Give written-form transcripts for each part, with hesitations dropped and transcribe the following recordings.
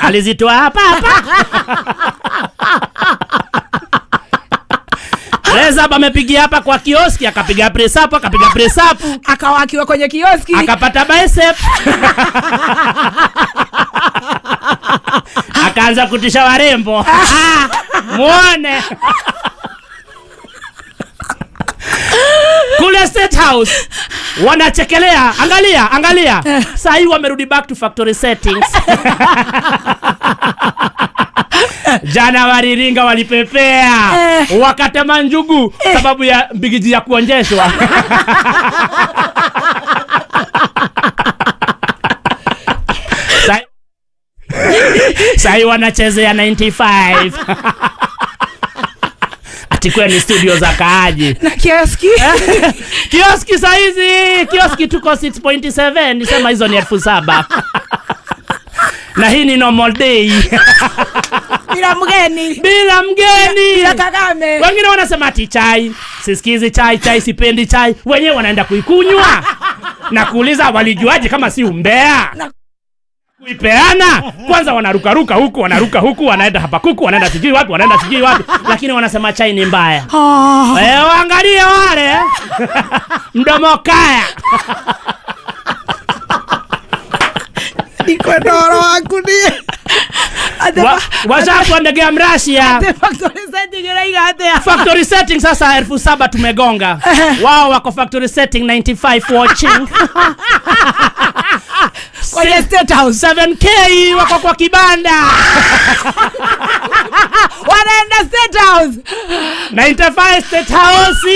Alizitoa hapa hapa. Press up amepigia hapa kwa kioski, akapiga press up, akapiga press up, akawa akiwa kwenye kioski, akapata bicep. Akaanza kutisha warembo. Muone. Kule State House wanachekelea, angalia, angalia. Sasa hii wamerudi back to factory settings. Jana waliringa, walipepea, wakatema njugu sababu ya mbigiji ya kuonjeshwa. Sai wanachezea 95. Atikwe ni studio za kaaji na kioski. Kioski saizi, kioski tuko 6.7, nisema hizo ni 7,000. Na hii ni normal day. Bila mgeni. Bila mgeni. Bila Kagame. Wengine wanasema ati chai, sisikizi chai, chai sipendi chai. Wenyewe wanaenda kuikunywa. Na kuuliza walijuaje kama si umbea? Kuipeana. Kwanza wanaruka ruka huku, wanaruka huku, wanaenda hapa kuku, wanaenda sijui wapi, wanaenda sijui wapi. Lakini wanasema chai ni mbaya. Eh, waangalie wale. Mdomo kaya. Ndikwenda waku ni. Washakuwa ndege ya mrashi ya. Factory setting iraiga atia? Factory setting sasa 7,000 tumegonga. Wao wako factory setting 95 watching. Kwenye State House 7K wako kwa kibanda. Wanaenda State House 95 State House.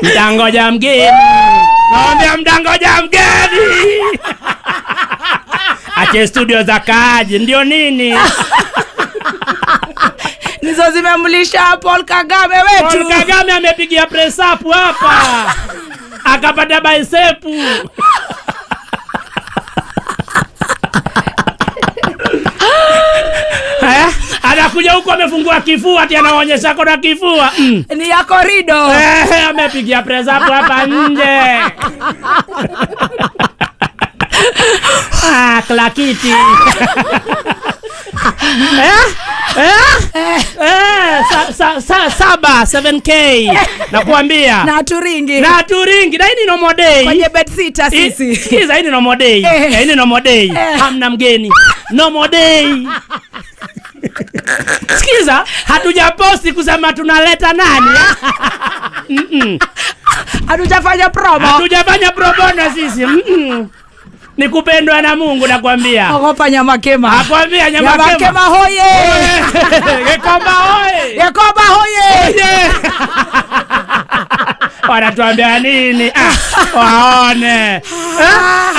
Mdangoja mgeni. Naambia mdangoja mgeni. Ache studio za kaaji ndio nini? Nizo zimemlisha Paul Kagame wetu. Paul Kagame amepigia press up hapa. Akapata bicep. Anakuja huko amefungua kifua ati anaonyesha kona kifua. Ni ya korido. Amepigia press up hapa nje. Ah, klakiti. Saba 7K. Nakuambia. Na turingi. Na turingi. Na hii ni normal day. Kwenye bed sitter sisi. Sikiza, hii ni normal day. Hii ni normal day. Hamna mgeni. Normal day. Sikiza, hatujaposti kusema tunaleta nani. Hatujafanya promo. Hatujafanya promo na sisi. Ni kupendwa na Mungu nakwambia. Ogopa Nyamakema. Nakwambia Nyamakema. Nyamakema hoye. Gekomba hoye. Gekomba hoye. Wanatuambia nini? Waone.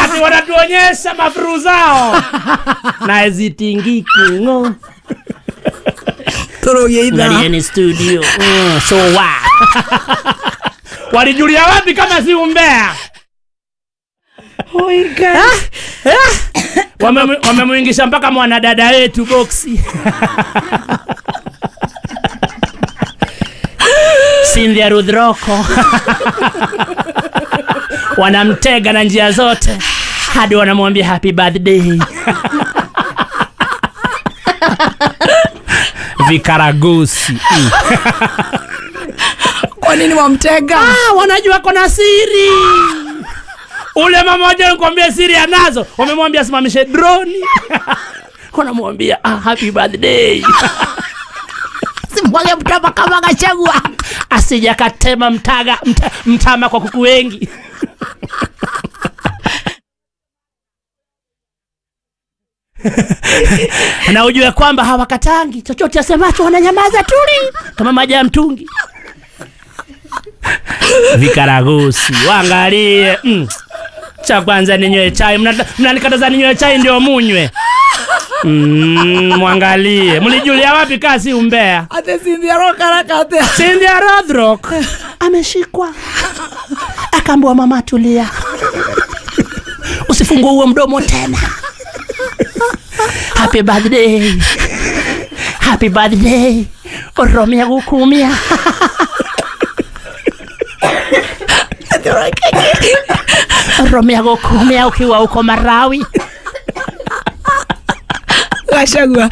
Ati wanatuonyesha mafuru zao. Na zitingiki ngo. Toroye ida. Ngalieni studio. So wa. Walijulia wapi kama si umbea? Wamemuingisha mpaka mwanadada wetu boxi. Cynthia Rudroko. Wanamtega na njia zote hadi wanamwambia happy birthday. Vikaragosi. Kwa nini wamtega? Wanajua kona siri. Ule mama mmoja nikwambia siri anazo. Wamemwambia simamishe drone. Wanamwambia happy birthday. Simwage mtama kama Gachagua. Asija katema mtama kwa kuku wengi. Na ujue kwamba hawakatangi chochote asemacho, wananyamaza tuli kama maji ya mtungi. Vikaragosi waangalie. Cha kwanza ninywe chai. Mnanikataza ninywe chai ndio munywe. Mwangalie. Mlijulia wapi kasi umbea? Ate Cynthia Rokarakate. Cynthia Rothrock ameshikwa. Akaambiwa mama tulia. Usifungue huo mdomo tena. Happy birthday. Happy birthday. Oromia gukumia. Romea gokumia ukiwa uko Marawi. Gachagua.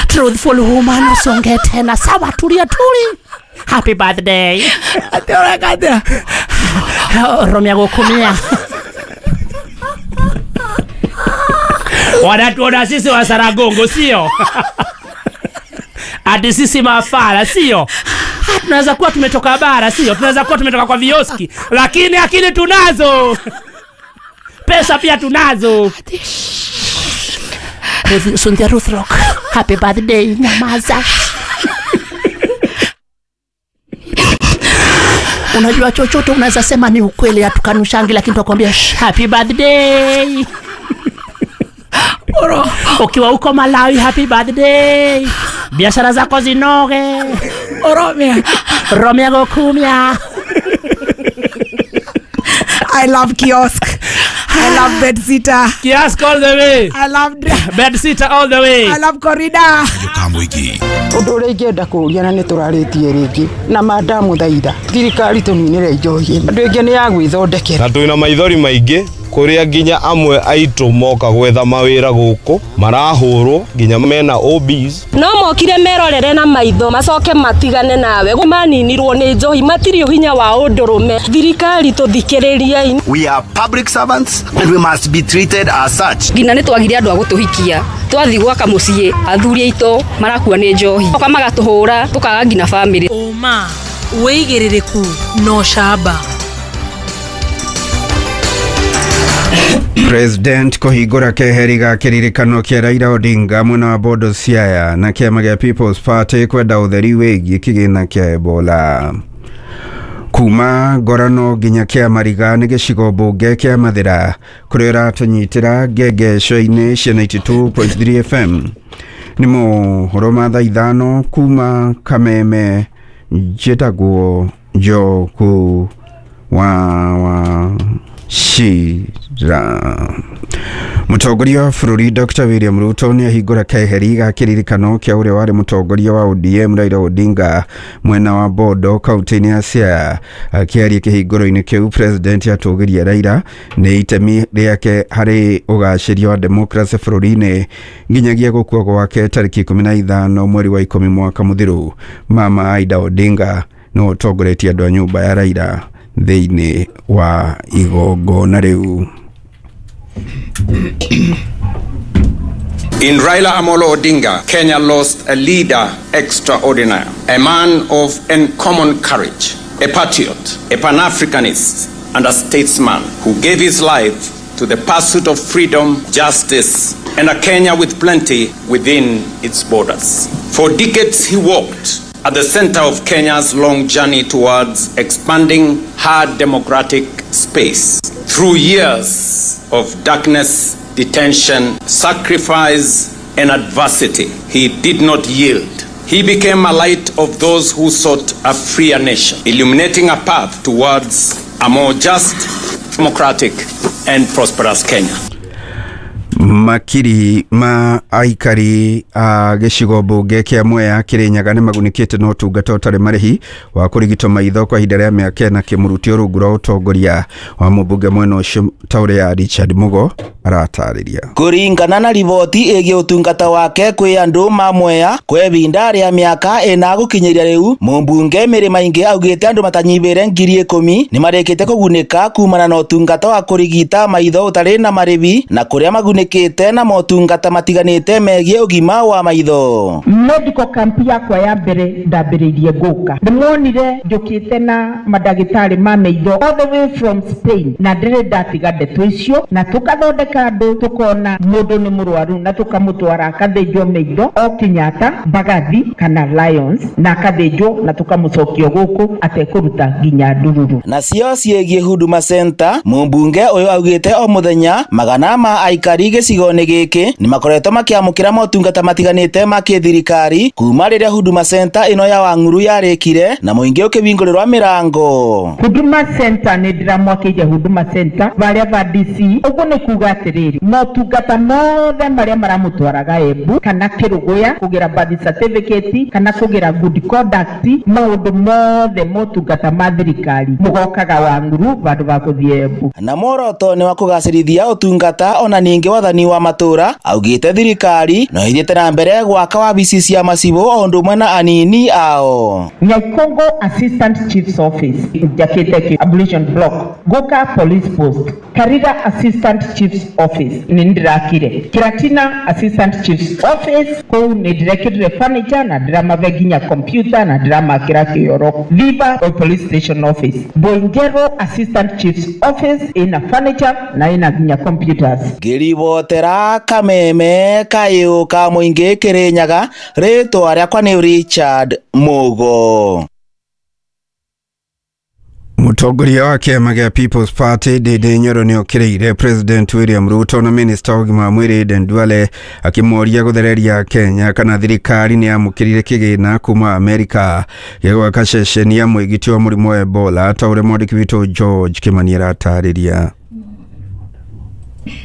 Truthful woman usonge tena. Sawa, tulia tuli. Happy birthday. Ati ũreka atĩa? Romea gokumia. Wanatuona sisi wa Saragongo, sio? Ati sisi mafala, sio? Tunaweza kuwa tumetoka bara, sio? Tunaweza kuwa tumetoka kwa vioski, lakini akili tunazo. Pesa pia tunazo. Sundia Ruth Rock, happy birthday, nyamaza. Unajua chochote unaweza sema ni ukweli, hatukanushangi, lakini tunakwambia happy birthday. Oro. Ukiwa uko Malawi, happy birthday. Biashara zako zinoge. Oromia. Romea gokumia. I love kiosk. I love bedsitter. Kiosk all the way. I love bedsitter all the way. I love corridor. Ũndũ ũrĩa ingĩenda kũũria na nĩ tũrarĩtie rĩngĩ na mandamũthaitha thirikari tũninĩre njohi andũ aingĩ nĩ ya gwĩthondekera na twĩna maithori maingĩ kũrĩa nginya amwe aitũ moka gwetha mawĩra gũkũ marahũrwo nginya mena OBs no mokire merorere na maitho macoke matigane nawe maninirwo nĩ njohi matirĩ hinya wa ũndũrũme thirikari tũthikĩrĩriei. We are public servants and we must be treated as such. Nginya nĩ twagire andũ a gũtũhikia twathi gwaka mũciĩ athuri aitũ marakua nĩ njohi oka magatũhũra tũkaga nginya family. Ũma wĩigĩrĩrĩku no camba. President kũhingũra keheri ga kĩririkano kĩa Raila Odinga mwena wa Bondo Siaya na kĩama gĩa People's Party kwenda ũtheri wĩgiĩ kĩgĩna kĩa Ebola. Kuma Ngorano nginya kĩa Mariga nĩ gĩcigo mbunge kĩa Mathĩra kũrĩa ũratũnyitĩra ngengesho-inĩ cia 92.3 FM. Nĩ mohoro ma thaa 5 kuma Kameme. Njĩtagwo Njoku wa Shira. Mũtongoria wa bũrũri Dr. William Ruto nĩ ahingũra keheri ga kĩririkano kĩa ũrĩa warĩ mũtongoria wa ODM Raila Odinga mwena wa Bondo kaunti-inĩ ya Siaya. Akĩaria kĩhingũro-inĩ kĩu, President atũgĩria Raila nĩ itemi rĩake harĩ ũgacĩria wa democracy bũrũri-inĩ nginyagia gũkua gwake tarĩki 15 mweri wa 10 mwaka mũthiru. Mama Aida Odinga no ũtongoretie andũ a nyũmba ya Raila thĩinĩ wa igongona rĩu. In Raila Amolo Odinga, Kenya lost a leader extraordinary, a man of uncommon courage, a patriot, a Pan-Africanist, and a statesman who gave his life to the pursuit of freedom, justice, and a Kenya with plenty within its borders. For decades he walked at the center of Kenya's long journey towards expanding her democratic space. Through years of darkness, detention, sacrifice, and adversity, he did not yield. He became a light of those who sought a freer nation, illuminating a path towards a more just, democratic, and prosperous Kenya. Makiri ma aikari a gĩcigo mbunge kĩa Mwea Kĩrĩnyaga nĩ magunĩkĩte na ũtungata ũtarĩ marĩhi wa kũrigitwo maitho kwa ihinda rĩa mĩaka ĩna kĩmũrutio rungu rwa ũtongoria wa mũmbunge mwena ũcio ta ũrĩa Richard Mugo aratarĩria. Kũringana na riboti ĩgiĩ ũtungata wake kwĩ andũ ma Mwea kwa ihinda rĩa mĩaka ĩna gũkinyĩria rĩu, mũmbunge Mĩrĩma Ingĩ augĩte andũ matanyihĩire 10,000 nĩ marĩkĩte kũgunĩka kumana na ũtungata wa kũrigita maitho ũtarĩ na marĩhi na kũrĩa magunĩkĩte na motungata matiganĩte megiĩ ũgima wa maitho. Medical camp yakwa ya mbere ndambĩrĩirie ngũka ndĩmonire njũkĩte na mandagĩtarĩ ma maitho all the way from Spain na ndĩrĩ ndatiga ndeto icio na tũkathondeka andũ tũkona mũndũ nĩ mũrwaru na tũkamũtwara akathĩnjwo maitho o Kenyatta, Mbagathi kana Lions na akathĩnjwo na tũkamũcokia gũkũ atekũruta nginya ndururu. Nacio ciĩgiĩ Huduma Center, mũmbunge ũyũ augĩte o mũthenya magana ma aikari gĩcigo-inĩ gĩkĩ nĩ makoretwo makĩamũkĩra motungata matiganĩte ma kĩthirikari kuma rĩrĩa Huduma Center ĩno ya Wang'uru yarĩkire na mũingĩ ũkĩhingũrĩrwo mĩrango. Huduma Center nĩ ndĩramwakĩire Huduma Center varĩa va DC ũguo nĩ kuga atĩ Atĩrĩrĩ, motungata mothe marĩa maramũtwaraga Embu kana Kĩrũgũya kũgĩra birth certificate kana kũgĩra good conduct, maũndũ mothe motungata ma thirikari mũgokaga Wang'uru vandũ va gũthiĩ Embu. Na muoroto nĩ wa kũgacĩrithia ũtungata ona ningĩ wathani wa matũra. Augĩte thirikari no ĩthiĩte na mbere gwaka wabici cia macibũ o ũndũ ũmwe na anini ao. Nyaikongo Assistant Chief's Office njakĩte ablution block, Guka Police Post, Karira Assistant Chief's Office nĩ ndĩrakire, Kiratina Assistant Chief's Office kũu nĩ ndĩrekĩrire furniture na ndĩramabe nginya computer na ndĩramakĩra kĩoro. Viva Police Station Office, Boingero Assistant Chief's Office ĩna furniture na ĩna nginya computers. Ngĩribotera kameme kayũ ka mũingĩ Kĩrĩnyaga, rĩtwa rĩakwa nĩ Richard Mugo. Mũtongoria wa kĩama gĩa People's Party Ndindi Nyoro nĩ okĩrĩire President William Ruto na Minister wa ũgima wa mwĩrĩ Aden Duale akĩmoria gũthereria Kenya kana thirikari nĩ yamũkĩrire kĩgĩna kuma Amerika gĩa gwaka ceceni ya mwĩgiti wa mũrimũ wa Ebola, ta ũrĩa mwandĩki witũ George Kimani aratarĩria.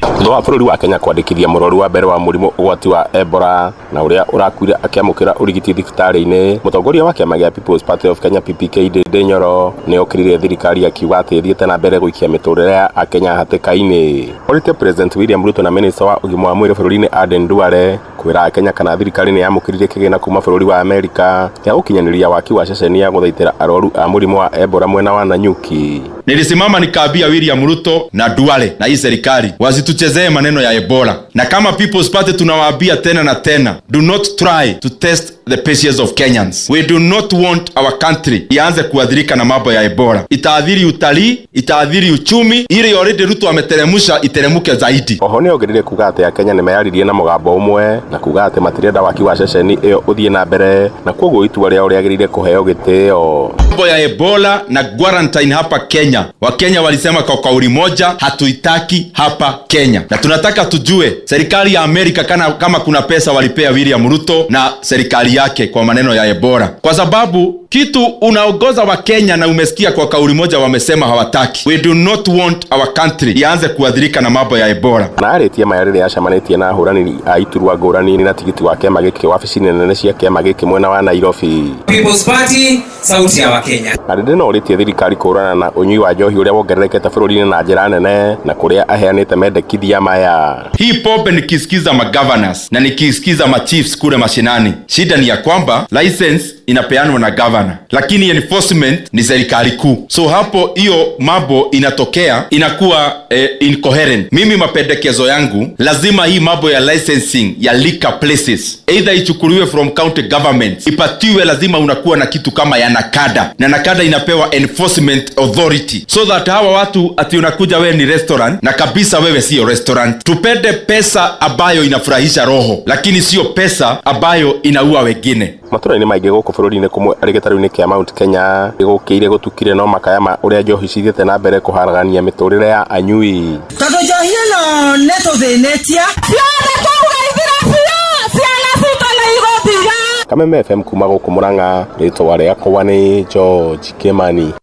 Thutha wa bũrũri wa Kenya kwandĩkithia mũrwaru wa mbere wa mũrimũ ũgwati wa Ebola na ũrĩa ũrakuire akĩamũkĩra ũrigiti thibitarĩ-inĩ, mũtongoria wa kĩama gĩa People's Party of Kenya PPK Ndindi Nyoro nĩ okĩrĩire thirikari akiuga atĩ ĩthiĩte na mbere gũikia mĩtũrĩre ya Akenya hatĩka-inĩ. Orĩtie President William Ruto na Minister wa ũgima wa mwĩrĩ bũrũri-inĩ Aden Duale kwĩra Akenya kana thirikari nĩ yamũkĩrire kĩgĩna kuma bũrũri wa Amerika gĩa gũkinyanĩria waki wa ceceni ya gũthaitĩra arwaru a mũrimũ wa Ebola mwena wa Nanyuki. Nilisimama nikaambia William Ruto na Duale na hii serikali wasituchezee maneno ya Ebola, na kama People's Party tunawaambia tena na tena, do not try to test the patience of Kenyans. We do not want our country ianze kuadhirika na mambo ya Ebola. Itaathiri utalii, itaathiri uchumi, ile already Ruto ameteremusha iteremuke zaidi. Oho nĩ ongereire kuga atĩ Akenya nĩ meyaririe na mũgambo ũmwe na kuga atĩ matirenda waki wa ceceni ĩyo ũthiĩ na mbere na kwoguo itua rĩao rĩagĩrĩire kũheo gĩtĩo. Mambo ya Ebola na quarantine hapa Kenya, Wakenya walisema kwa kauli moja, hatuitaki hapa Kenya. Na tunataka tujue serikali ya Amerika kama kuna pesa walipea William Ruto na serikali yake kwa maneno ya Ebola, kwa sababu kitu unaongoza wa Kenya na umesikia kwa kauli moja wamesema hawataki. We do not want our country ianze kuadhirika na mambo ya Ebola. Na arĩtie maya rĩrĩa acemanĩtie na ahũranĩri a iturwa ngũrani na tigiti wa kĩama gĩkĩ wabici-inĩ nene cia kĩama gĩkĩ mwena wa Nairobi. People's Party, sauti ya Wakenya. Na rĩrĩ no ũrĩtie thirikari kũhũrana na ũnyui wa njohi ũrĩa wongererekete bũrũri-inĩ na njĩra nene na kũrĩa aheanĩte mendekithia maya. Hii pombe nikisikiza magovernors na nikisikiza machiefs kule mashinani, shida ni ya kwamba license inapeanwa na governor, lakini enforcement ni serikali kuu. So hapo hiyo mambo inatokea inakuwa incoherent. Mimi mapendekezo yangu, lazima hii mambo ya licensing ya liquor places either ichukuliwe from county government, ipatiwe, lazima unakuwa na kitu kama ya NACADA, na NACADA inapewa enforcement authority, so that hawa watu ati unakuja wewe ni restaurant na kabisa wewe sio restaurant. Tupende pesa ambayo inafurahisha roho, lakini sio pesa ambayo inaua wengine. Matũra-inĩ maingĩ gũkũ bũrũri-inĩ kũmwe arĩ gĩtarũ-inĩ kĩa Mount Kenya gũkĩire gũtukire no makaya ma ũrĩa njohi cithiĩte na mbere kũharagania mĩtũrĩre ya anyui. Tondũ njohi ĩno nĩ tũthĩnĩtie ciothe twauga ithire biũ, ciana citũ nĩ igũtiga. Kameme FM kuma gũkũ Murang'a, rĩtwa rĩakwa nĩ George Kimani.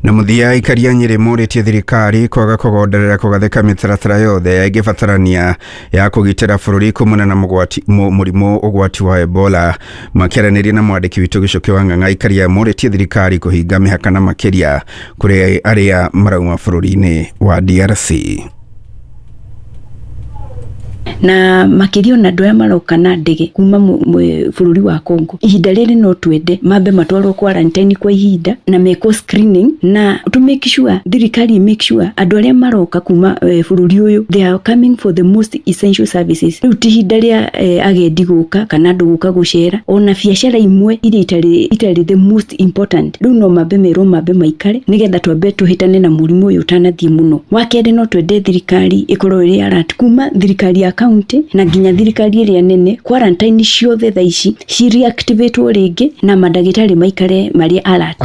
Na mũthia aikari a Nyĩrĩ morĩtie thirikari kwaga kũgonderera kũgathĩka mĩtaratara yothe ĩngĩbatarania ya kũgitĩra bũrũri kumana na mũrimũ ũgwati wa Ebola. Makĩaranĩria na mwandĩki witũ Gĩcũkĩ wa Ng'ang'a, aikari a morĩtie thirikari kũhinga mĩhaka na makĩria kũrĩ arĩa marauma bũrũri-inĩ wa DRC. Na makiria ona andũ aya maroka na ndege kuma bũrũri wa Congo, ihinda rĩrĩ no twende mambe matwarwo quarantine kwa ihinda na mekwo screening na to make sure thirikari make sure andũ arĩa maroka kuma bũrũri ũyũ they are coming for the most essential services. Rĩu ti ihinda rĩa agendi gũka kana andũ gũka gũcera, ona biacara imwe iria itarĩ the most important rĩu no mambe merwo mambe maikare nĩgetha twambe tũhĩtane na mũrimũ ũyũ ũtanathiĩ mũno. Wa kerĩ no twende thirikari ĩkorwo ĩrĩ alert kuma thirikari ya county na nginya thirikari ĩrĩa nene, quarantine ciothe thaa ici ci reactivatwo rĩngĩ na mandagĩtarĩ maikare marĩ alert.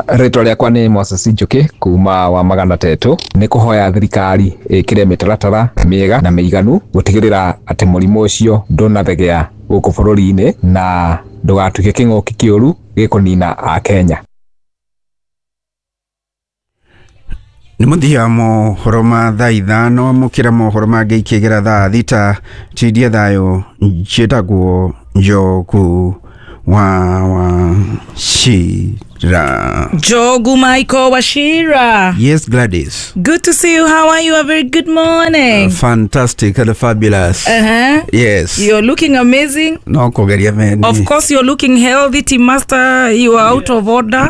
Rĩtwa rĩakwa nĩ Moses Njuki kuma wa Magana Tetũ. Nĩ kũhoya thirikari ĩkĩre mĩtaratara mĩega na mĩiganu gũtigĩrĩra atĩ mũrimũ ũcio ndũnathegea gũkũ bũrũri-inĩ na ndũgatuĩke kĩng'ũki kĩũru gĩkũnina Akenya. Nĩ mũthia mohoro ma thaa 5 mũkĩra mohoro mangĩ ikĩgera thaa 6 tindie thayũ njĩtagwo Njogu wa Wachira. Njogu Michael Wachira. Yes, Gladys. Good to see you. How are you? A very good morning. Fantastic and fabulous. Yes. You're looking amazing. No kugeria meni. Of course you're looking healthy, Team Master. You are out of order.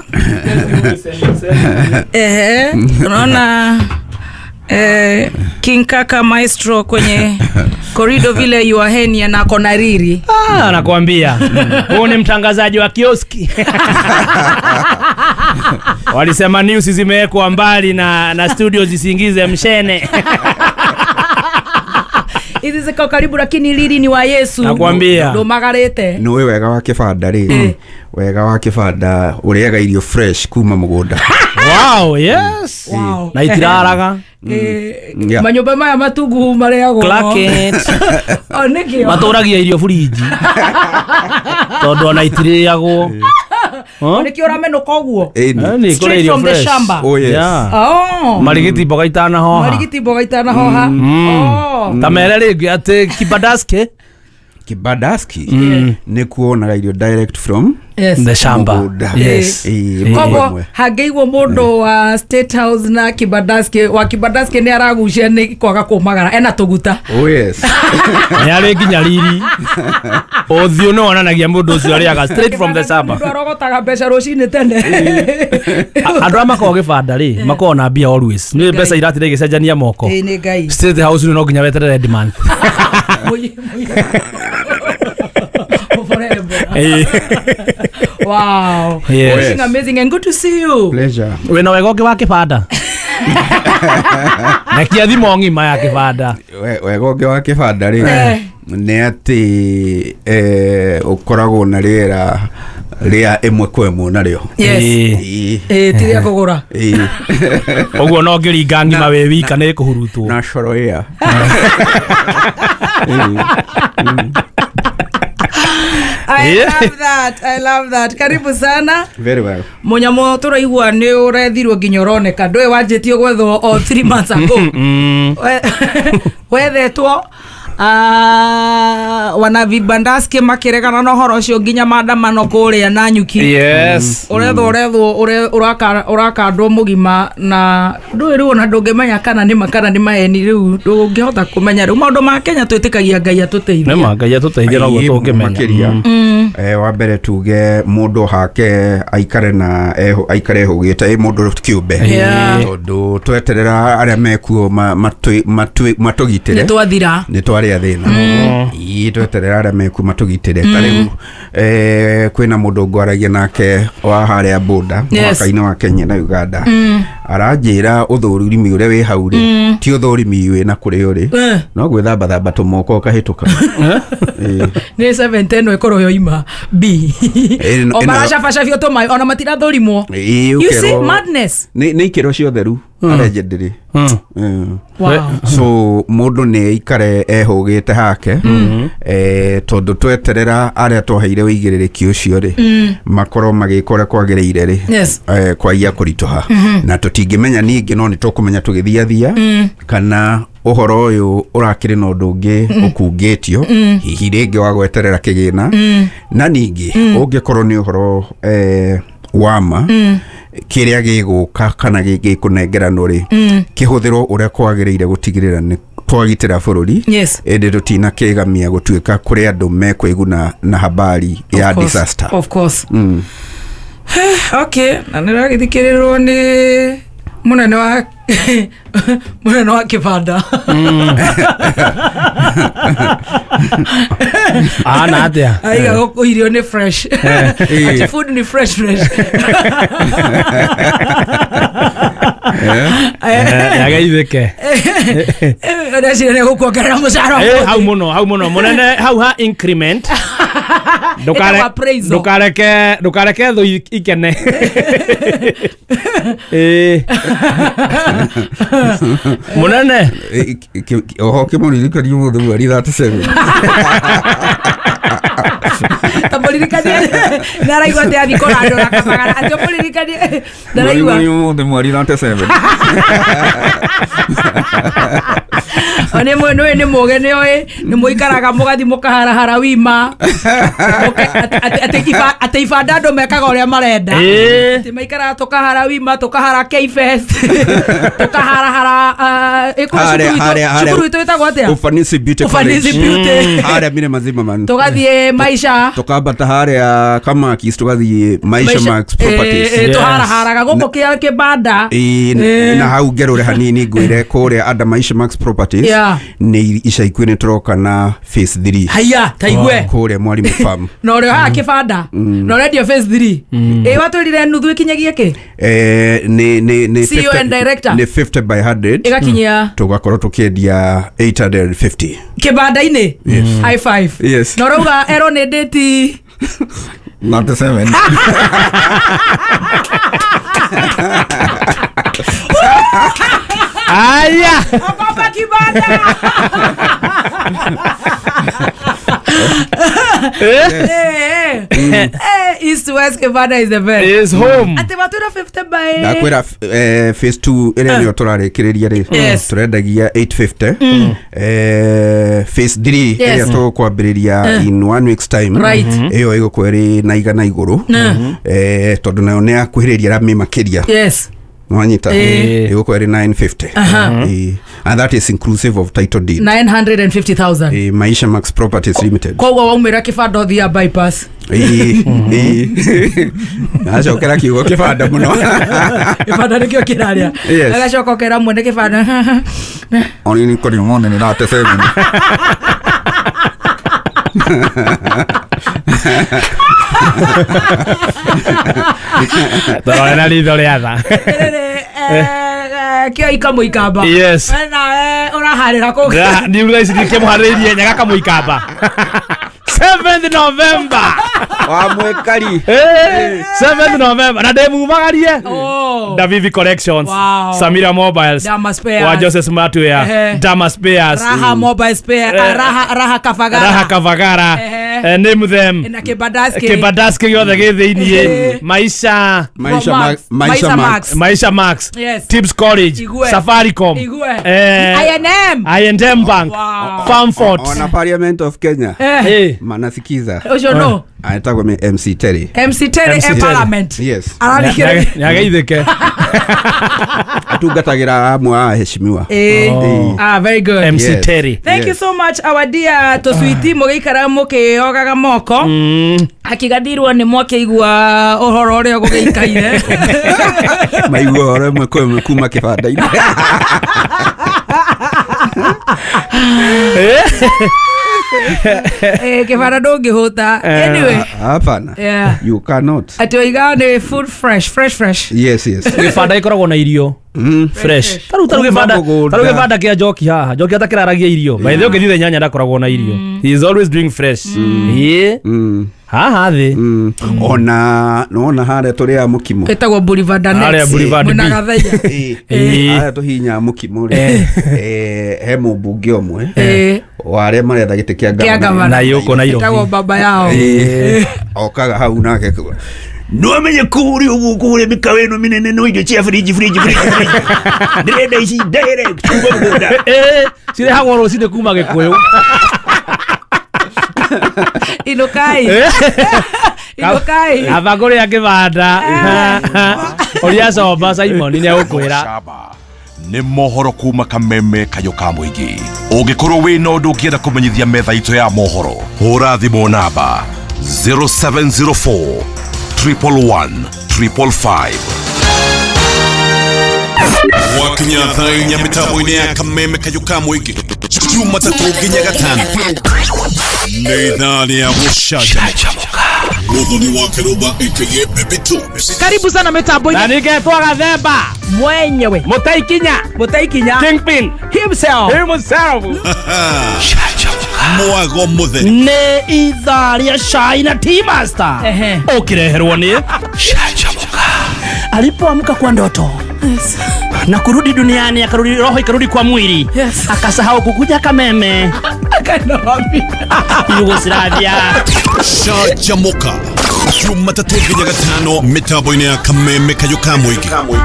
Unaona King Kaka Maestro kwenye korido vile you are henia na konariri. Ah, nakwambia. Huyu ni mtangazaji wa kioski. Walisema news zimewekwa mbali na studio zisiingize mshene. Hizi ziko karibu lakini lili ni wa Yesu. Nakwambia. Ndo magarete. No wega wa kibanda ri. Wega wa kibanda uriaga irio fresh kuma mugunda. Wow, yes. Wow. Na itiraraga. Manyumba maya matungu mareagwo. Clark it. O nikio. Maturagia irio furiji. Tondu ona itiriagwo. Nikio uramenuka uguo. Straight from the shamba. Oh yes. Oh. Marigiti mboga itanahoha. Marigiti mboga itanahoha. Oh. Ta mere ringi ati kibadaski. Kibadaski ni kuonaga irio direct from yes. The shamba. Yes. Kogo hangeigwo mundu wa State House na kibadaski wa kibadaski ni aragucia ni kwaga kumagara ena tuguta. Oh yes. Ni ari nginya riri. Uthio no onanagia mundu ucio ariaga straight from the shamba. Mundu arogotaga mbeca rucini tene. Andu a makoragwo gibanda ri makoragwo na mbia always. Ni mbeca iratire igicenjania moko. Ni Ngai. State House no nginya weterere demand. Wow. Yes. Looking amazing and good to see you. Pleasure. Wena wega ũngĩ wa kĩbanda. Na kia thimo ng'ima ya kĩbanda. Wega ũngĩ wa kĩbanda rĩ nĩ atĩ ũkoragwo na rĩera rĩa ĩmwe kwa ĩmwe narĩo. Yes. Ti rĩa kũgũra. Ũguo no ngĩringa ng'ima wĩ wika nĩ kũhurutwo. Natural air. I love that. I love that. Karibu sana. Very well. Munyamo turaigua ni urethirwo nginya uroneka. Ndwe wanjĩtie gwethwo o 3 months ago. Wethetwo wana vibandaski makiregana na horo ucio nginya maandamano kuria na nyuki. Yes. Urethwo urakandwo mugima na ndui riu ona ndungimenya kana ni makana ni maheni riu ndungihota kumenya riu maundu ma Kenya twitikagia Ngai atuteithie. Nĩ ma Ngai atuteithie noguo tungimenya. Wa mbere tuge mundu hake aikare na aikare hugite mundu kiumbe tondu tweterera aria mekuo matugitire ni twathira ni twaria thina ii tweterera aria mekuo matugitire ta riu kwina mundu ngwaragia nake wa haria boda mwaka-inĩ wa Kenya na Uganda aranjĩra ũthũrimi ũrĩa wĩ hau rĩ ti ũthũrimi wĩ na kũrĩa ũrĩ no gwĩthamba thamba tũmoko ũkahĩtũka. Nĩ 710 ĩkorwo yoima B o maracabacabio tũmaĩ ona matirathũrimwo. You see madness. Nĩ ikĩro cia ũtheru allegedly. Wow. So mundu ni aikare ehũgĩte hake tondu tweterera aria twaheire ũigĩrĩrĩki ũcio rĩ makorwo magĩka ũrĩa kwagĩrĩire rĩ kwaiya kũritũha na tũtingĩmenya ningĩ no nĩ tũkũmenya tũgĩthiathia kana ũhoro ũyũ ũrakĩrĩ na ũndũ ũngĩ ũkungĩtio hihi rĩngĩ wa gweterera kĩgĩna na ningĩ ũngĩkorwo nĩ ũhoro wama kĩrĩa gĩgũka kana gĩkũnengeranwo rĩ kĩhũthĩrwo ũrĩa kwagĩrĩire gũtigĩrĩra nĩ twagitĩra bũrũri ĩndĩ tũtinakĩgamia gũtuĩka kũrĩ andũ mekwĩguna na habari ya disaster. Of course. Okay, na nĩragĩthikĩrĩrwo nĩ munene wa kĩbanda. Ana atia aiga gũkũ irio nĩ fresh. Ati food ni fresh fresh. Yagaithike ndacira nĩ gũkuongerera mũcara. Hau mũno hau mũno munene hau ha increment. Ndukareke thũ ikene. Munene oho kĩmũririkania mũthĩ mweri 37. Tamũririkanie nĩaraigua atĩ athiĩ kũrandũra Kamagara atĩ ũmũririkanie ndaraigua Mweri mweri 97. Nĩ nĩ nĩ mũge nĩ oĩ nĩ mũikaraga mũgathi mũkaharahara wima atĩ ibanda andũ mekaga ũrĩa marenda atĩ maikaraga tũkahara wima tũkahara K-Fest tũkaharahara cukuru itũ ĩtagwo atĩa? Ufanisi Beauty College. Ufanisi Beauty. Harĩa Mirema Zimmerman. Tũgathiĩ Maisha tukambata harĩa Kamakis tugathiĩ Maisha Max Properties. Tũharaharaga gũkũ kĩbanda na hau ngerũre hanini ngwĩre kũrĩa under Maisha Max Properties nĩ ica ikuhĩ nĩ tũroka na phase 3. Haya taigue kũrĩa Mwalimu Farm na ũrĩa haha kĩbanda na ũrendio phase 3 ĩ watwĩrire nuthu ĩkinyagia kĩ? Nĩ CEO and director nĩ 50 by 100 ĩgakinyia tũgakorwo tũkĩendia 850 kĩbanda-inĩ. High five. Yes. Na ũrauga ero nĩ date 97. Aya. Okopa kibanda. East West Kibanda is the best. Is home. Ati matwira 50 by. Ndakwira phase 2 ĩrĩa nĩyo tũrarĩkĩrĩria rĩ tũrendagia 850. Phase 3 ĩrĩa tũkwambĩrĩria in 1 week's time ĩyo ĩgũkorwo ĩrĩ na igana igũrũ tondũ nayo nĩ yakuhĩrĩria rami makĩria. Yes. Nwanyita ĩgũkorwo ĩrĩ 950. And that is inclusive of title deed. 950,000. Maisha Max Properties Limited. Koguo waumĩra kĩbanda ũthiaga bypass. Acokera kiugo kĩbanda mũno. Kĩbanda nĩkĩo kĩraria. Agacoka ũkera mwene kĩbanda. Oni nĩ kũrĩ mone nĩ rate 7. Tũrorera ritho rĩa tha. Kĩo ikamũikamba. Yes. Nawe ũraharĩra kũ? Niĩ thaa ici ndikĩmũharĩrĩirie nyaga kamũikamba. 7th November. Wa mwekari. 7th November. Na ndĩmumagarie. Davivi Collections. Samira Mobiles. Dama Spares. Wa Joseph Smartwear. Dama Spares. Raha Mobile Spare. Raha Kavagara. Raha Kavagara. Name them. Na Kibadaski. Kibadaski gĩothe gĩ thĩiniĩ. Maisha. Maisha Max. Maisha Max. Yes. Tips College. Igwe. Safaricom. Igwe. I&M. I&M Bank. Farmfort. Ona Parliament of Kenya. Manasikiza. Ũcio no. Anaitagwo MC Terry. MC Terry e Parliament. Yes. Nĩageithĩke. Atungatagĩra amwe a heshimiwa. Ah, very good. MC Terry. Thank you so much our dear tũcuiti mũgĩikara mũkĩogaga moko. Akigathirwo nĩ mwakĩigua ũhoro ũrĩa gũgĩikaire. Maigua ũhoro ĩmwe kwa ĩmwe kuma kĩbanda-inĩ. Kĩbanda ndũngĩhũta. Anyway. Hapana. You cannot. Atĩ oigaga nĩ food fresh, fresh fresh. Yes, yes. Gĩbanda gĩkoragwo na irio. Fresh. Taru gĩbanda, taru gĩbanda kĩa Njoki haha. Njoki atakĩraragia irio. By the way ũngĩthiĩ nyanya ndakoragwo na irio. He is always doing fresh. Haha thĩ. Ona nona harĩa tũrĩaga mũkimo. Ĩtagwo Boulevard Annex. Harĩa Boulevard B. Mwena Gathaiya. Harĩa tũhihinyaga mũkimo rĩ. He mũmbunge ũmwe. Wa arĩa maretha gĩtĩ kĩa gavana. Na yũkũ Nairobi. Ĩtagwo baba yao. Okaga hau nake no amenye kũrĩa ũguo kũrĩa mĩkawa ĩno mĩnene no irio cia fridge fridge fridge. Ndĩrenda ici direct kuma mũgũnda. Cirehagwo rũcinĩ kuma Gĩkũyũ. Inukai. Inukai. Aba kũrĩa kĩbanda. Ũrĩa comba Simon nĩ egũkwĩra. Nĩ mohoro kuma Kameme Kayũ ka mũingĩ. Ũngĩkorwo wĩna ũndũ ũngĩenda kũmenyithia metha itũ ya mohoro, hũra thimũ namba 0704 111 555. Wakinya thaa inya mĩtambo-inĩ ya Kameme Kayũ ka mũingĩ Jumatatũ nginya Gatano nĩ ithaa rĩa gũcanjamũka. Muthoni wa Kĩrũmba aka Baby Two. Karibu sana mitambo-inĩ. Na nĩngetwo Gathemba mwenyewe. Mũtaikinya. Mũtaikinya. Kingpin himself. Himself. Mwago mũtheri. Nĩ ithaa rĩa cai na Tea Master. Ũkĩreherwo nĩ Canjamũka. Alipoamka kwa ndoto. Yes. Na kurudi duniani akarudi, roho ikarudi kwa mwili. Yes. Akasahau kukuja Kameme. Kanobi. Yugoslavia. Canjamuka Jumatatũ nginya gatano mĩtambo-inĩ ya Kameme Kayũ ka Mũingĩ.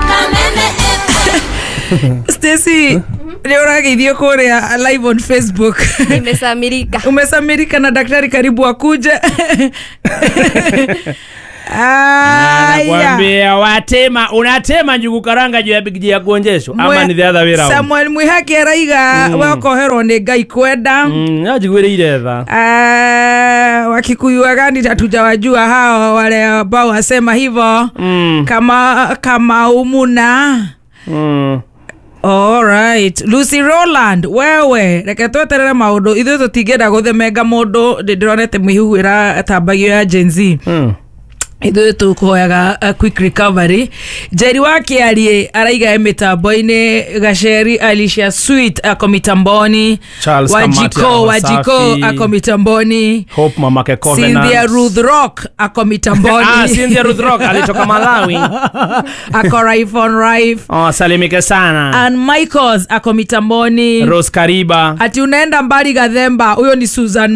Stacy, nĩ ũrageithio kũrĩa live on Facebook. Nimesamirika. Umesamirika na daktari karibu akuje. Nakwambia watema, unatema njugu karanga juu ya big ya kuonjesho ama ni the other way round. Samuel Mwihaki araiga wakoherwo nĩ Ngai kwenda. Njiguĩrĩire tha. Wakikuyu wagani hatujawajua hao wale ambao wasema hivyo. Kama umuna. All right. Lucy Roland, wewe reke tweterere maundu ithuĩ tũtingĩenda gũthemenga mũndũ ndĩronete mĩhuhu ĩratambagio ya Gen Z. Ithuĩ tũkũhoyaga quick recovery. Njeri wa Kĩarie araiga mĩtambo-inĩ, Gaceri Alicia Sweet ako mitamboni, Charles Wajiko Wajiko ako mitamboni, Hope Mamake Covenant, Cynthia Ruth Rock ako mitamboni. Cynthia Ruth Rock alitoka Malawi. Ako Rife on Rife. Oh, salimike sana. And Michaels ako mitamboni. Rose Kariba. Ati unaenda mbali Gathemba, huyo ni Susan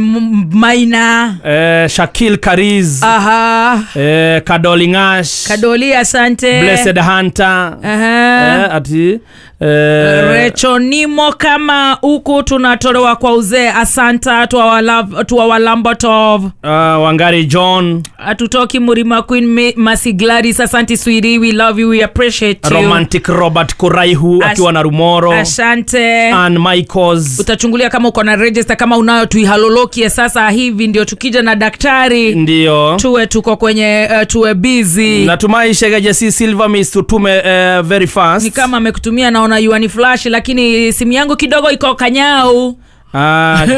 Maina. Shakil Kariz. Aha. Kadoli Ngash. Kadoli, asante. Blessed Hunter. Ati Rechonimo kama huku tunatolewa kwa uzee, asante tuwa Lambotov. Wangari John. Atutoki Murima Queen Masi Gladys, asante sweetie, we love you, we appreciate you. Romantic Robert Kuraihu akiwa na Rumoro. Asante. Ann Michaels. Utachungulia kama uko na register, kama unayo tuihalolokie sasa hivi ndio tukija na daktari. Ndio. Tuwe tuko kwenye tuwe busy. Natumai Shegeje si Silver Miss tutume very fast. Ni kama amekutumia, naona yuani flash, lakini simu yangu kidogo iko kanyau.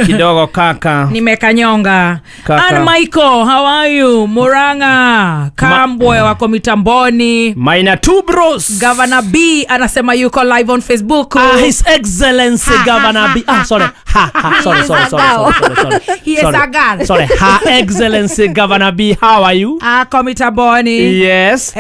Kidogo kaka. Nimekanyonga. Ann Michael, how are you? Muranga, Kambwe wako mitamboni. Maina two bros. Governor B anasema yuko live on Facebook. His Excellency Governor B. Sorry. Sorry. He is a girl. Sorry. Her Excellency Governor B, how are you? Ako mitamboni. Yes.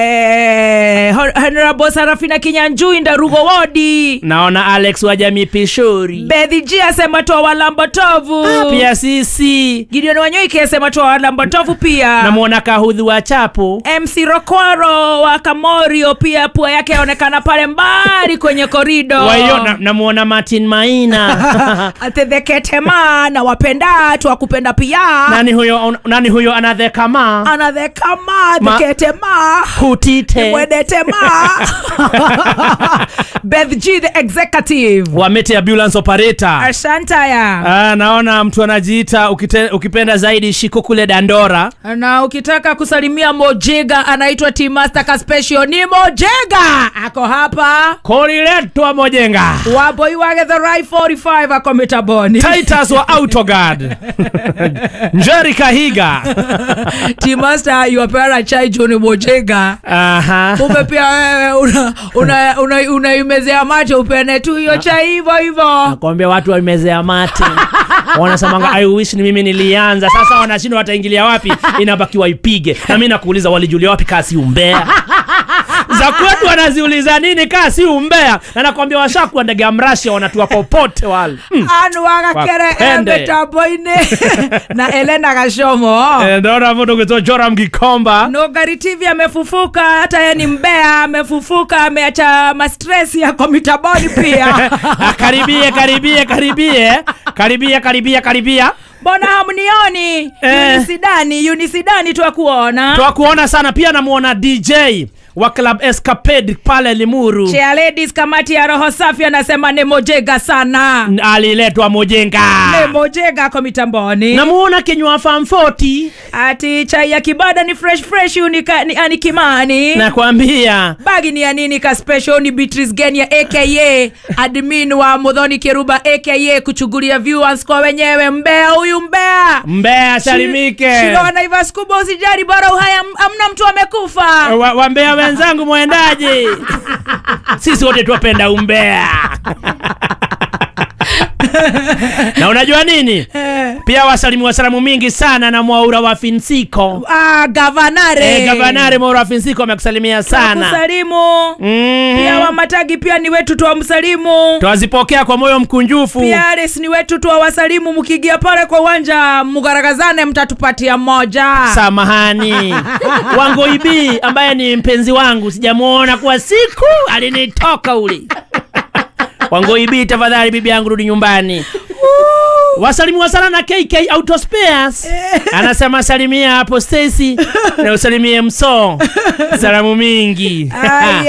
Honorable Sarafina Kinyanjui Ndarugo Wodi. Naona Alex wa Jamii Pishori. Bethi G asema toa Walambotovu. Pia sisi. Gideon Wanyoike asema toa Walambotovu pia. Namuona Kahudhu wa Chapo. MC Rokwaro wa Kamorio pia pua yake yaonekana pale mbali kwenye korido. Wayo namuona Martin Maina. Atetheketema na wapenda tuwakupenda pia. Nani huyo anathekama? Anathekama, theketema. Hutite. Mwedetema. Beth G the executive. Wa Mete ambulance operator. Asante ya. Naona mtu anajiita ukipenda zaidi Shiko kule Dandora. Na ukitaka kusalimia Mojega anaitwa Team Master Kaspesio ni Mojega. Ako hapa. Koriletwa Mojenga. Waboi wage the right 45 ako mitaboni. Titus wa Autoguard. Njeri Kahiga. Team Master you are chai John Mojega. Aha. Kumbe pia wewe unaimezea mate upene tu hiyo chai hivyo hivyo. Nakwambia watu waimezea mate. Wanasemanga I wish ni mimi nilianza. Sasa wanashindwa wataingilia wapi, inabaki waipige. Na mimi nakuuliza walijulia wapi kasi umbea? Za kwetu wanaziuliza nini kasi umbea? Na nakwambia washakuwa ndege ya mrashi wanatua popote wale. Anu wakakere mbetambo-inĩ na Elena Gashomo. Ndona mtu kutoka Joram Gikomba. No Gari TV amefufuka, hata yeye ni mbea, amefufuka, ameacha ma stress ya komitaboni pia. Karibie karibie karibie. Karibia karibia karibia. Mbona hamnioni? Unisidani twakuona. Twakuona sana pia. Namuona DJ wa Club Escapade pale Limuru. Chair ladies kamati ya roho safi anasema ni Mojega sana. Aliletwa Mojenga. Ni Mojega kwa mitamboni. Namuona Kinywa Farm 40. Ati chai ya kibada ni fresh fresh unika, ni ani Kimani. Nakwambia. Bagi ni ya nini ka special ni Beatrice Genia aka admin wa Muthoni Kiruba aka kuchugulia viewers kwa wenyewe. Mbea huyu mbea. Mbea salimike. Shiro na Ivas kubwa usijali bora uhaya amna mtu amekufa. Wa mbea wenzangu mwendaje? Sisi wote tuwapenda umbea. Na unajua nini? Pia wasalimiwa salamu mingi sana na Mwaura wa Finsiko. Gavanare. Gavanare Mwaura wa Finsiko amekusalimia sana. Kusalimu. Pia wa Matagi pia ni wetu tuwamsalimu. Tuwazipokea kwa moyo mkunjufu. Pia Ares ni wetu tuwasalimu, mkiingia pale kwa uwanja mgaragazane mtatupatia moja. Samahani. Wangoibi ambaye ni mpenzi wangu sijamuona kwa siku, alinitoka ule. Wangoibi tafadhali bibi yangu rudi nyumbani. Wasalimiwa sana na KK Auto Spares. Anasema salimia hapo Stacy na usalimie Mso. Salamu mingi.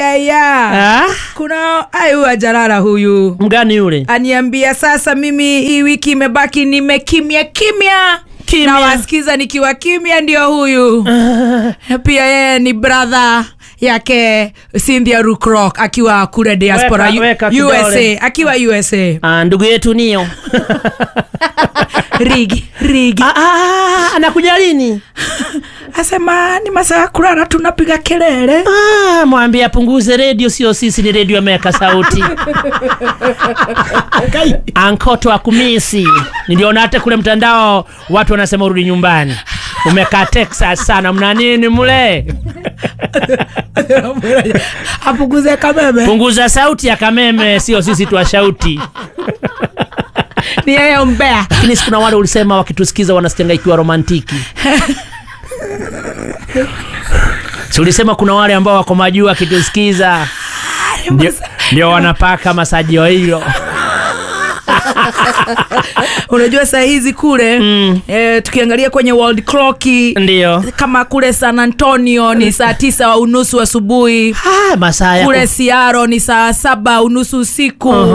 Aya. Kuna huyu ajalala huyu. Mgani yule? Aniambia sasa mimi hii wiki imebaki nimekimya kimya. Na wasikiza nikiwa kimya ndio huyu. Pia yeye ni brother yake Cynthia Rukrok akiwa kule diaspora weka USA, akiwa USA. Ndugu yetu nio. Rigi. Anakuja lini? Asema ni masaa kulala tunapiga kelele. Mwambie apunguze radio, sio sisi ni radio ameweka sauti. Ankoto akumisi. Niliona hata kule mtandao watu wanasema urudi nyumbani. Umekaa Texas sana, mna nini mule? Apunguze kameme. Punguza sauti ya kameme, sio sisi tuwashauti. Ni yeye umbea. Lakini kuna wale ulisema wakitusikiza wanasikia ikiwa romantiki. Si ulisema kuna wale ambao wako majuu wakitusikiza ndio wanapaka masajio hilo. Unajua saa hizi kule tukiangalia kwenye world clock ndio kama kule San Antonio ni saa 9:30 asubuhi. Masaa kule Seattle ni saa 7:30 usiku.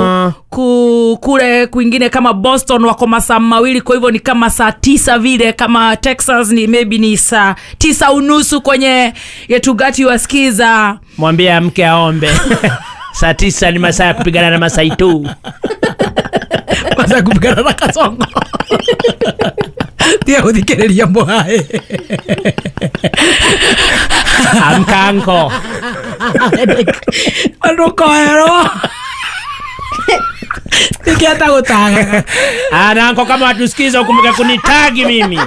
Kule kwingine kama Boston wako masaa mawili, kwa hivyo ni kama saa 9 vile. Kama Texas ni maybe ni saa 9:30 kwenye Yetugati wasikiza. Mwambie mke aombe. Saa 9 ni masaa ya kupigana na Masai tu. Masaa kupigana na Kasongo. Tia uthikiriria mwae. Amka anko. Ndukoerwo. Nikiata gutagaga. Ananko kama watusikiza ukumbuke kunitagi mimi.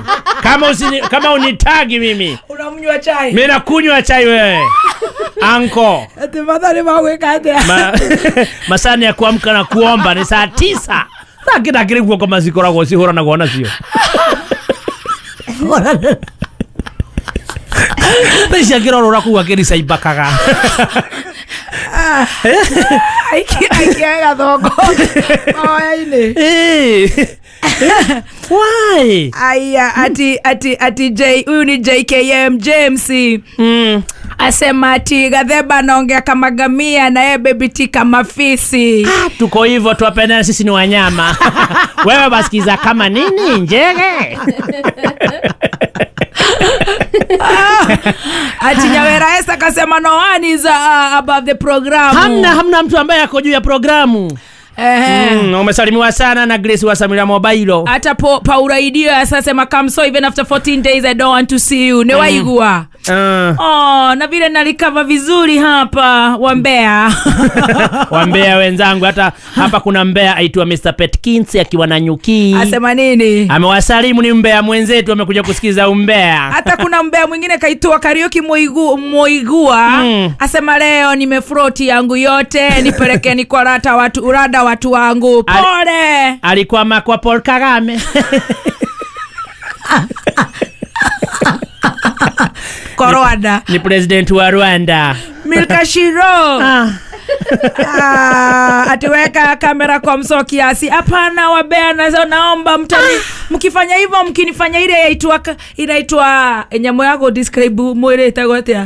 Kama unitagi mimi. Unamnywa chai. Mimi nakunywa chai wewe. Anko. Ati madhari maweka atia. Masani ya kuamka na kuomba ni saa 9. Sasa kile kwa kama zikoragwo cihũranagwo nacio. Thaa akĩrorora kũu akĩricaibakaga. Aikia gathongo. Oya-inĩ. Why? Aya, ati J, huyu ni JKM James. Asema ati Gatheba anaongea kama gamia na yeye baby T kama fisi. Tuko hivyo tuwapendane, sisi ni wanyama. Wewe basikiza kama nini njege? Ati Nyawera Esther akasema no one is above the program. Hamna mtu ambaye ako juu ya programu. Umesalimiwa sana na Grace wa Samira Mobile. Hata Paula Idio asasema come so even after 14 days I don't want to see you. Newaigua. Oh, na vile nalikava vizuri hapa wambea. Wambea wenzangu, hata hapa kuna mbea aitwa Mr. Petkins akiwa na nyuki. Asema nini? Amewasalimu, ni mbea mwenzetu amekuja kusikiza umbea. Hata kuna mbea mwingine kaitwa Karaoke Moigua. Asema leo nimefroti yangu yote, nipelekeni kwa rata watu urada watu wangu. Pole. Alikuwa kwa Paul Kagame. Kwa Rwanda. Ni president wa Rwanda. Milka Shiro. Atiweka kamera kwa mso kiasi. Hapana wabea, naomba mtani mkifanya hivyo, mkinifanya ile inaitwa nyamũ yako describe mwĩrĩ ĩtagwo atĩa?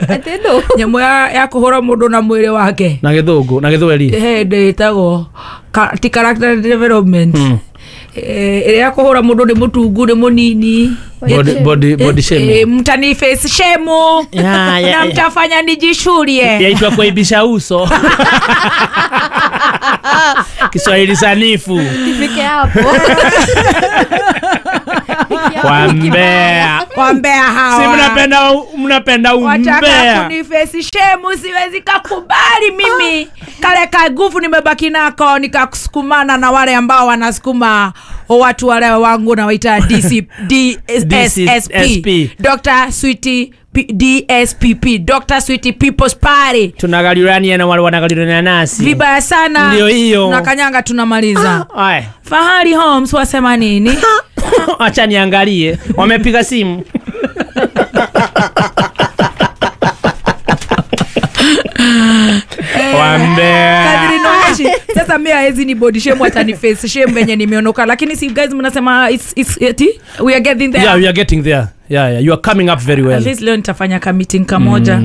Atendo. Nyamũ ya kũhũra mũndũ na mwĩrĩ wake. Na gĩthũngũ, na gĩthweri. Ndĩtagwo ti character development. Ĩrĩa ya kũhũra mũndũ nĩ mũtungu, nĩ mũnini. Body shaming. Mtani face shame. Na mtafanya nijishurie. Yaitwa kuibisha uso. Kiswahili sanifu. Ifike hapo. Wambea. Wambea hawa. Si mnapenda umbea. Wataka kunifesi shemu, siwezi kakubali mimi. Kale kagufu nimebaki nako nikakusukumana na wale ambao wanasukuma watu wale wangu na waita DSSP. Dr. Sweetie DSPP, Dr. Sweetie People's Party. Tunagaliurania na wale wanagalirania nasi. Vibaya sana. Ndio hiyo. Na kanyanga tunamaliza. Fahari Homes wasema nini? Acha niangalie. Wamepiga simu. Wambea. Kadri noeshi. Sasa mimi haezi ni body shame hata ni face shame venye nimeondoka, lakini si guys mnasema it's we are getting there. Yeah, we are getting there. Yeah, you are coming up very well. At least leo nitafanya ka meeting kamoja.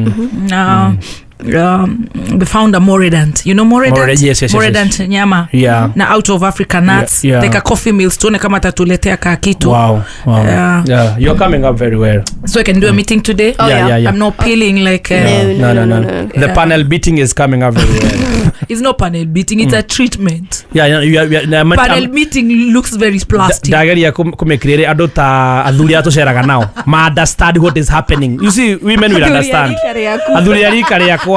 The founder Moredant. You know Moredant? Yes, Moredant yes. Nyama. Yeah. Na Out of Africa Nuts. Yeah. Like a coffee mills tuone kama atatuletea ka kitu. Wow. Yeah, you're coming up very well. So I can do a meeting today? Oh, yeah. Yeah. I'm not peeling like No. The panel beating is coming up very well. It's not panel beating, it's a treatment. Yeah. Panel meeting looks very plastic. Ndageria kumekirere andu ta athuri a tuceraga nao. Ma understand what is happening. You see, women will understand. Athuri a rika rĩakwa.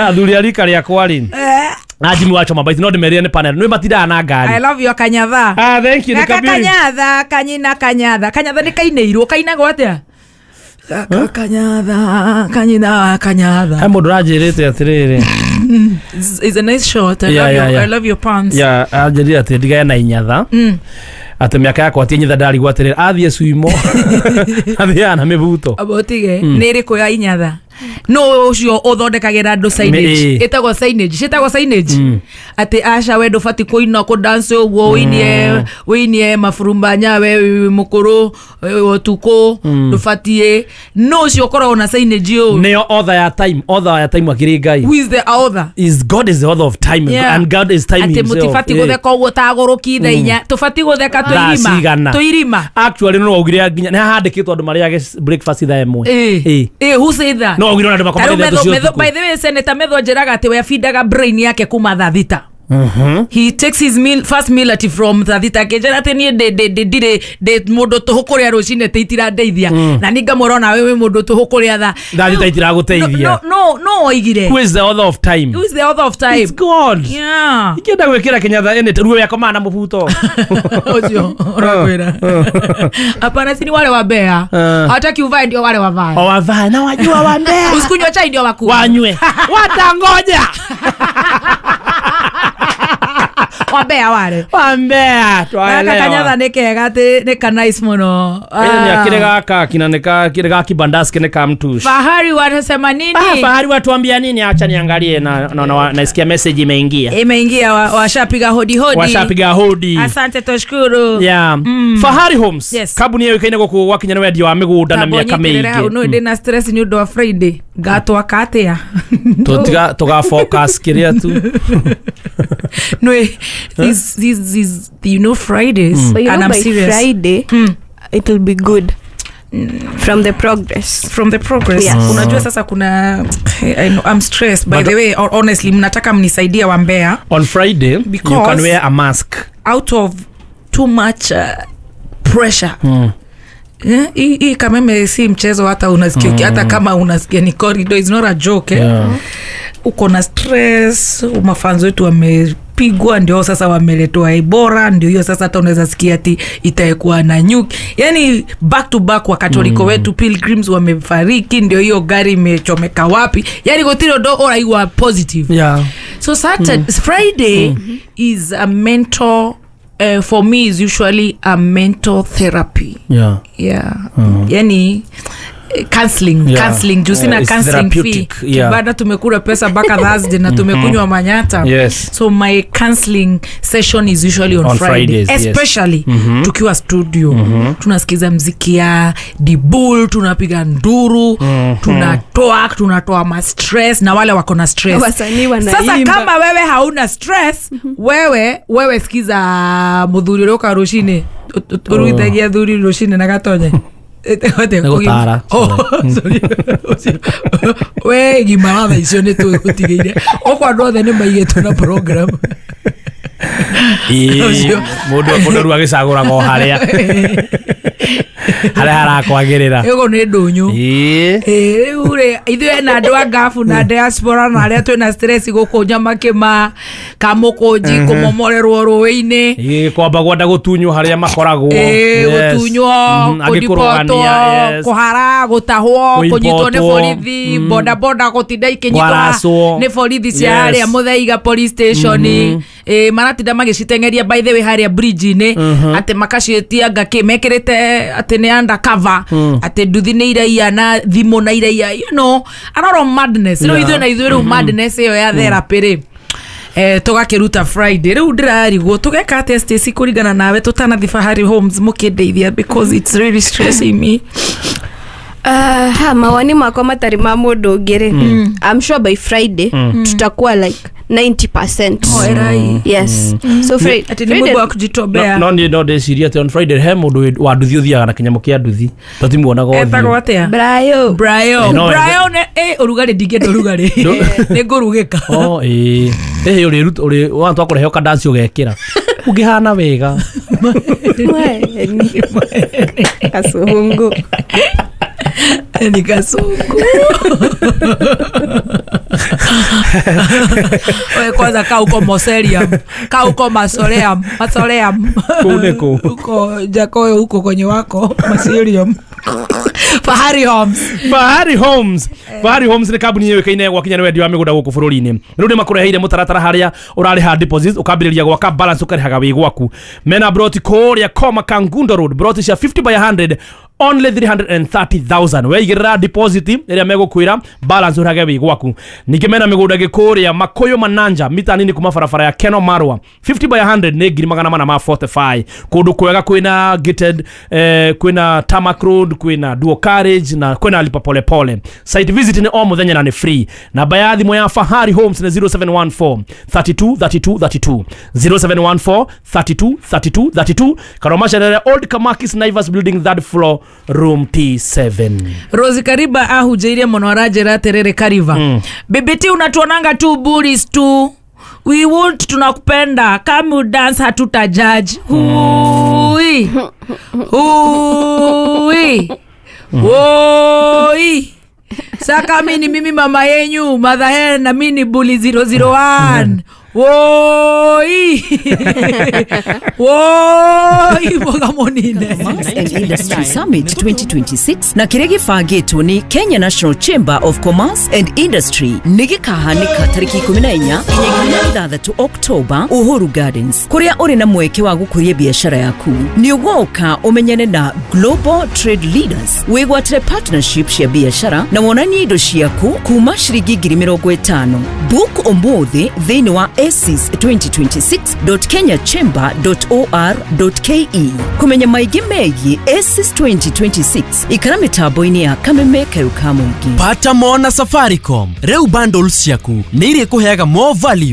Athuri a rika rĩakwa rĩ. Ajimi wacho mabaiti no ndimerire ni panel. Nĩ matindaga na ngari. I love your kanyatha. Ah, thank you. Kanyatha, kanyina kanyatha. Kanyatha nĩ kainĩirwo, kainagwo atĩa? Kanyatha, kanyina kanyatha. He mũndũ ũranjĩrĩte atĩrĩrĩ. It's a nice shot. I love your pants. Yeah, anjĩrire atĩ ndigane na inyatha. Atĩ mĩaka yakwa ti inyatha ndarigwo atĩrĩrĩ athiĩ suimo. Athiaga na mĩbuto. Abotige nĩ ĩrĩkũ ya inyatha? No ucio uthondekagira andu signage itagwo signage citagwo signage ati aca we ndubati kuina ku dance uguo winie mafurumba nyawe mukuru utuku ndubatie no ucio ukoragwo na signage yo nio author ya time akiri Ngai. Who is the author? Is God is the author of time. Yeah. And God is time ati himself. Ati mutifati gutheka uguo taguruki thaa inya tubati gutheka tuirima actually no augire nginya ni handikitwo andu mariage breakfast thaa imwe. Who said that? No augire andu makomaga thaa. By the way, Senator Metho njiraga ati we afindaga brain yake kuma thaa thita. He takes his meal first meal ati from thaa thita akĩnjĩra atĩ niĩ ndirĩ ndĩ mũndũ tũhũ kũrĩa rũcinĩ atĩ itirandeithia na niĩ ngamwĩra ona wewe mũndũ tũhũ kũrĩa thaa thita itiragũteithia. No oigire. Who is the author of time? Who is the author of time? It's God. Yeah. Ikĩenda gwĩkĩra kĩnyatha ĩnĩ ruo yakomaga na mũbuto ũcio ũrakwĩra. Hapana, si ni wale wa Mbeya. Hawataki uvae ndio wale wavae. O wavae na wajua wa Mbeya. Usikunywa chai ndio wakunywe. Wanywe. Watangoja. Wambea wale. Wambea twaelewa. Kanyatha nĩ kega atĩ nĩ ka nice mũno. Ni akire gaka kina nĩ kire ga kibandaski nĩ ka mtush. Fahari wanasema nini? Fahari watuambia nini? Acha niangalie na naisikia message imeingia. Imeingia washapiga hodi hodi. Washapiga hodi. Asante tushukuru. Yeah. Fahari Homes. Yes. Kambuni ĩyo ikaine gũkũ gwakinya nĩ wendia wa mĩgũnda na mĩaka mĩingĩ. No ndĩ na stress nĩ ũndũ wa Friday. Ngatwaka atĩa? Tũtiga tũga focus kĩrĩa tu. No, this you know Fridays. But you and know, I'm by serious. Friday it will be good. From the progress. From the progress. Yes. Unajua sasa kuna I know, I'm stressed by the way, or honestly mnataka mnisaidie wa Mbeya. On Friday you can wear a mask. Out of too much pressure. Hii kameme si mchezo hata unasikia hata kama unasikia ni corridor, it's not a joke. Yeah. Uko na stress, mafanzo wetu wamepigwa ndio sasa wameletwa Ebola, ndio hiyo sasa hata unaweza sikia ati itakuwa na nyuki. Yani back to back wa Katoliko wetu pilgrims wamefariki, ndio hiyo gari imechomeka wapi. Yani gotiro do ora iwa positive. Yeah. So Saturday Friday is a mental for me is usually a mental therapy. Yeah. Yeah. Yani counseling, yeah. Counseling juu sina counseling fee. Yeah. Baada tumekula pesa mpaka Thursday na tumekunywa manyata. Yes. So my counseling session is usually on Friday. Fridays, especially yes. Tukiwa studio. Tunasikiza mziki ya Dibul, tunapiga nduru, tunatoa ma stress na wale wako na stress. Sasa kama wewe hauna stress, wewe sikiza muthuri roka rushine. Uruithagia thuri rushine na gatonye. Nĩgũtara. We gimara thaa icio nĩ tũgũtigĩire. Ũkwa andũ othe nĩ maigĩtwo na program. Mũndũ rĩu agĩcagũraga o harĩa harĩa harakwagĩrĩra. Ĩgo nĩ ndũnyũ. Rĩu rĩ ithuĩ na andũ a ngabu na diaspora na arĩa twĩna stress gũkũ Nyamakĩma, Kamũkũnji, kũmomorerwo rũĩ-inĩ, kwamba gwenda gũtunywo harĩa makoragwo, gũtunywo, kũribotwo, kũhara, gũtahwo, kũnyitwo nĩ borithi, boda boda gũtinda ikĩnyitwo nĩ borithi cia harĩa Mũthaiga police station, maratinda magĩciteng'eria by the way harĩa bridge-inĩ, atĩ makaciĩtia ngakĩ mekĩrĩte atĩ nĩ undercover, atĩ nduthi nĩ iraiya na thimũ na iraiya, you know, a lot of madness. Rĩu ithuĩ na ithuĩ rĩu madness ĩyo ya therapy rĩ, tũgakĩruta Friday. Rĩu ndĩrarigwo tũgeka atĩa Stacy kũringana nawe tũtanathi Fahari Homes mũkĩndeithia, because it's really stressing me. Ha mawoni makwa matarĩ ma mũndũ ũngĩ rĩ, I'm sure by Friday tutakuwa like 90%. Oh, erai. Yes. So Friday ati ni mũndũ wa kujitobea. No ni no ndeciria atĩ on Friday he mũndũ wa nduthi ũthiaga na kĩnyamũ kĩa nduthi tũtimuonaga ũthiũ. Etagwo atĩa? Brayo. Brayo. Brayo nĩ ũrugarĩ ndingĩenda ũrugarĩ. Nĩ ngũrugĩka. Oh ĩĩ. Ĩhĩ ũrĩ ũrĩ wa twakũrehe ũkandanci ũgekĩra. Ũngĩhana wega. Kasungu. Ni kasungu. Oe kwanza ka uko Moselium, ka uko Masoleum, Masoleum. Kune ku. Uko Jakoyo huko kwenye wako Maselium. Fahari Homes. Fahari Homes. Fahari Homes nĩ kambuni yũĩkaine gwakinya nĩ wendia wa mĩgũnda gũkũ bũrũri-inĩ. Rĩu nĩ makũreheire mũtaratara harĩa ũrarĩha deposit ũkambĩrĩria gwaka balance ũkarĩhaga wĩ gwaku. Mena broti kũrĩa Koma Kangundo Road, broti cia 50 by 100 only 330,000. Weigĩrĩra deposit ĩrĩa megũkwĩra balance ũrĩhage wĩ gwaku. Ningĩ mena mĩgũnda ĩngĩ kũrĩa Makuyu Mananja mita nini kuma barabara ya Keno Marwa 50 by 100 nĩ 445. Kũndũ kwega kwĩna gated, kwĩna tarmac road, kwĩna dual carriage na kwĩna lipa pole pole. Site visit nĩ o mũthenya na nĩ free. Namba ya thimũ ya Fahari Homes nĩ 0714 32 32 32, 0714 32 32 32. Karoma Sherere, Old Kamakis Naivas Building, 3rd floor, room T7. Rosi Kariba ahujeirie mũno aranjĩra atĩrĩrĩ Kariba, BBT unatuonanga tu bullies tu, we won't, tunakupenda, kama you dance hatuta judge. Hui hui woi. Saka mimi mimi mama yenyu mother hen na mimi ni bully 001. Woi. Woi mboga monine. Commerce and Industry Summit 2026 na kĩrĩa gĩbangĩtwo nĩ Kenya National Chamber of Commerce and Industry nĩ gĩkahanĩka tarĩki 14 nginya 16 October Uhuru Gardens, kũrĩa ũrĩ na mweke wa gũkũria biacara yaku. Nĩ ũgoka ũmenyane na Global Trade Leaders, wĩgwatĩre partnership cia biacara na wonanie indo ciaku kuma ciringi 50,000. Book ũmũthĩ thĩinĩ wa aces2026.kenyachamber.or.ke. Kũmenya maingĩ megiĩ ACES 2026 ikara mĩtambo-inĩ ya Kameme Kayũ ka Mũingĩ. Pata mona Safaricom rĩu bundles ciaku nĩ irĩkũheaga more value.